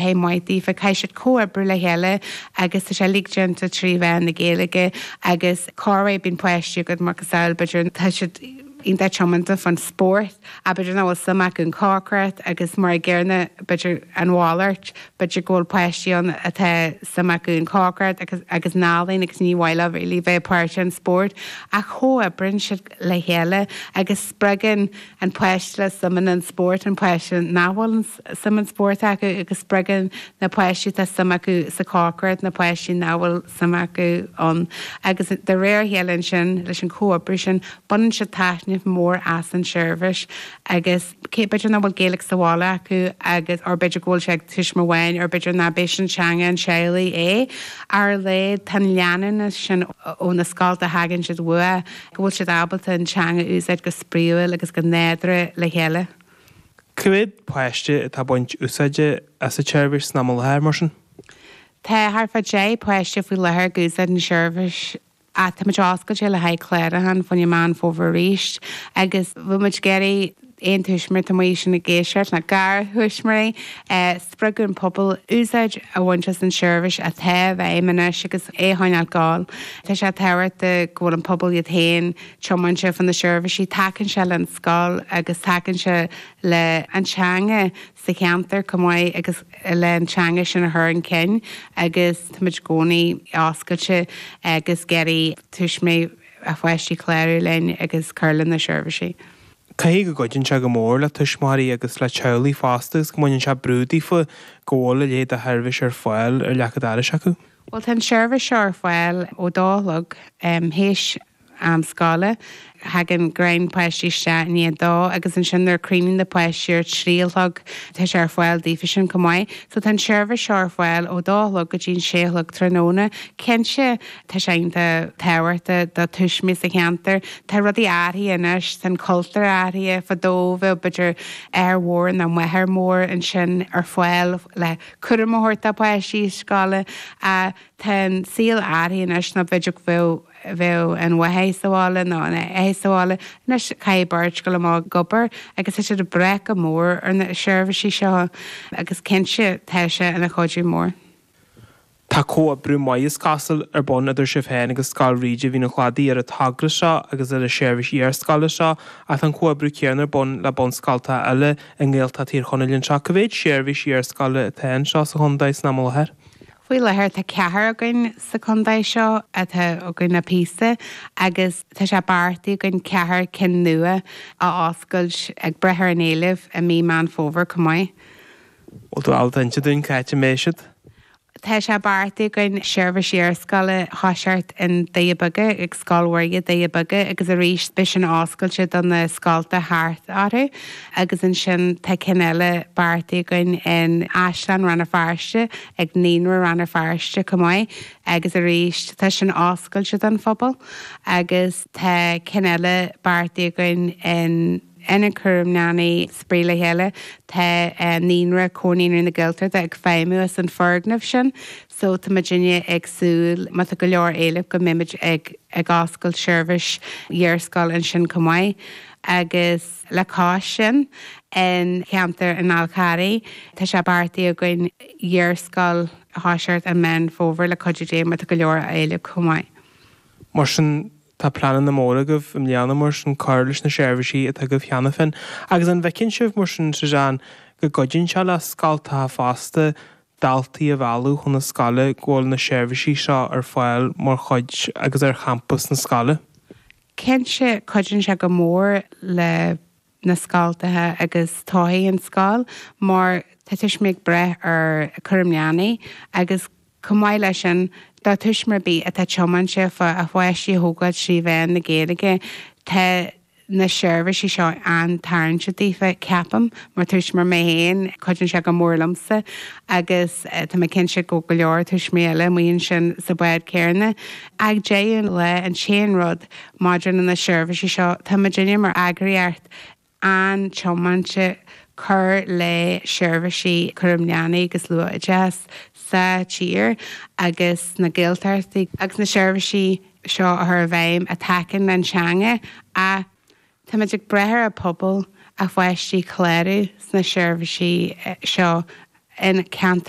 Bheith maith daofa, caithfidh siad comhoibriú le chéile agus tá sé uilig déanta trí mheán na Gaeilge agus corruair bíonn páistí agat macasamhail b'fhéidir tá siad iontach tiomanta fán spórt ach b'fhéidir nach bhfuil suim acu in cócaireacht agus mar an gcéanna b'fhéidir an mhalairt b'fhéidir go bhfuil páistí ann atá suim acu in cócaireacht agus agus in ealaín agus ní mhaith leo really bheith páirteach in spórt ach comhoibríonn siad le chéile agus spreagann an páiste le suim in an spórt an páiste nach bhfuil suim in spórt acu agus spreagann na páistí atá suim acu sa chócaireacht na páistí nach bhfuil suim acu ann agus de réir a chéile ansin leis an chomhoibriú sin baineann siad taitneamh mór as an seirbhís agus cé b'fhéidir nach bhfuil Gaeilge sa bhaile acu agus or b'fhéidir go bhfuil sé ag tuismitheoir amháin or b'fhéidir nach b'é sin teanga an teaghlaigh é ar a laghad tá an leanúnas sin ó na scolta a thagann siad uathu go bhfuil siad ábalta an teanga a úsáid go spraíúil agus go nádúrtha le chéile. Cá mhéad páiste atá ag baint úsáide as an tseirbhís san am i láthair, mar sin? Tá thart fá 10 páiste faoi láthair ag úsáid an seirbhís ach táimid oscailte le haghaidh clárúchán fá choinne Meán Fómhair arís agus bhfuil muid ag iarraidh aon tuismitheoir atá amuigh ansin ag éisteacht nó garthuismitheoirí spreagadh an pobal úsáid a bhaint as an seirbhís atá i bhfeidhm anois agus é a choinneáil ag gabháil. Tá sé tábhachtach go bhfuil an pobal iad féin tiomáinte fá na seirbhísí. Tacaíonn sé le an scoil agus tacaíonn sé le an teanga sa cheantar chomh maith agus le an teanga sin a chur chun cinn agus táimid i gcónaí oscailte agus ag iarraidh tuismitheoirí a pháistí clárú linn agus cur le na seirbhísí. Caithfidh go gcuidíonn sé go mór le tuismitheoirí agus le teaghlaigh fosta agus go mbaineann sé brú daofa go bhfuil a leithéid de sheirbhís ar fáil ar leac an dorais acu. Bhuel tá an seirbhís seo ar fáil ó dó a chlog théis am scoile. Thagann greim páistí isteach i ndiaidh a dó agus ansin nuair a chríochnaíonn na páistí ar 3 a chlog tá sé ar fáil daofa sin chomh maith. So tá an seirbhís seo ar fáil ó dó a chlog go dtí an sé a chlog tráthnóna. Cinnte tá sé iontach tábhachtach do tuismitheoirí sa cheantar. Tá rudaí athraithe anois, tá an cultúr athraithe. Fadó bheadh b'fhéidir athair mhór nó máthair mhór ansin ar fáil le cúram a thabhairt do pháistí scoile ach tá an saol athraithe anois nó b'fhéidir go bheadh bheadh an mháthair sa bhaile nó an athair sa bhaile. Anois caithfidh beirt dul amach ag obair agus tá siad ag brath go mór ar na seirbhísí seo agus cinnte tá sé ina chuidiú mór. Tá comhoibriú maith is cosúil ar bun idir sibh féin agus Scoil Bhríde Mhín an Chladaigh ar an togra seo agus ar an seirbhís iarscoile seo ach tá an comhoibriú céanna ar bun le bunscoltacha eile i nGaeltacht Thír Chonaill anseo. Cá mhéad seirbhís iarscoile atá anseo sa chontae san am i láthair? Faoi láthair tá ceathrar againn sa chontae seo atá againn le píosa agus tá sé beartaithe againn ceathrar cinn nua a oscailt ag brath ar an éileamh i mí Meán Fómhair chomh maith. Bhfuil tú ábalta inse dúinn cá háit a mbeidh siad? Tá sé beartaithe againn seirbhís iarscoile a thoiseacht i nDoire Beaga, ag Scoil Mhuire, Doire Beaga agus arís beidh sin oscailte do na scolta thart orthu. Agus ansin tá cinn eile beartaithe againn in Áislann Rann na Feirste, ag Naíonra Rann na Feirste chomh maith agus arís tá sin oscailte don phobal agus tá cinn eile beartaithe againn in Ionad Cúram Leanaí Spraoi le Chéile. Tá Naíonra, Comhar Naíonraí na Gaeltachta ag feidhmiú as an foirgneamh sin so tá muidinne ag súil má tá go leor éilimh go mbeimid ag ag oscailt seirbhís iarscoile ansin chomh maith agus. Le cois sin, in cheantar an Fháil Charraigh, tá sé beartaithe againn iarscoil a thoiseacht i Meán Fómhair le cuidiú Dé má tá go leor éilimh chomh maith. Mar sin, tá pleananna móra agaibh i mbliana mar sin cur leis na seirbhísí atá agaibh cheana féin. Agus an bhfeiceann sibh mar sin, Suzanne, go gcuidíonn sé le scoltacha fosta daltaí a mhealladh chun na scoile go bhfuil na seirbhísí seo ar fáil mar chuid agus ar champas na scoile? Cinnte, cuidíonn sé go mór le na scoltacha agus todhchaí an scoil mar tá tuismitheoirí ag brath ar chúram leanaí agus chomh maith leis sin do tuismitheoir ar bith atá tiomáinte fá a pháistí a thógáil trí mheán na Gaeilge tá na seirbhísí seo an-tarraingteach daofa, ceapaim, mar tuismitheoir mé féin, cuidíonn sé go mór liomsa agus tá mé cinnte go go leor tuismitheoirí eile amuigh ansin sa bhád céanna. Ag deireadh an lae, an t-aon rud maidir le na seirbhísí seo, tá muidinne mar eagraíocht an-tiomáinte cur le seirbhísí cúram leanaí agus luath-oideachas sa tír agus sna Gaeltachtaí agus na seirbhísí seo a chur i bhfeidhm a thacaíonn le an teanga ach táimid ag brath ar an pobal a pháistí clárú sna seirbhísí seo. In ceantar.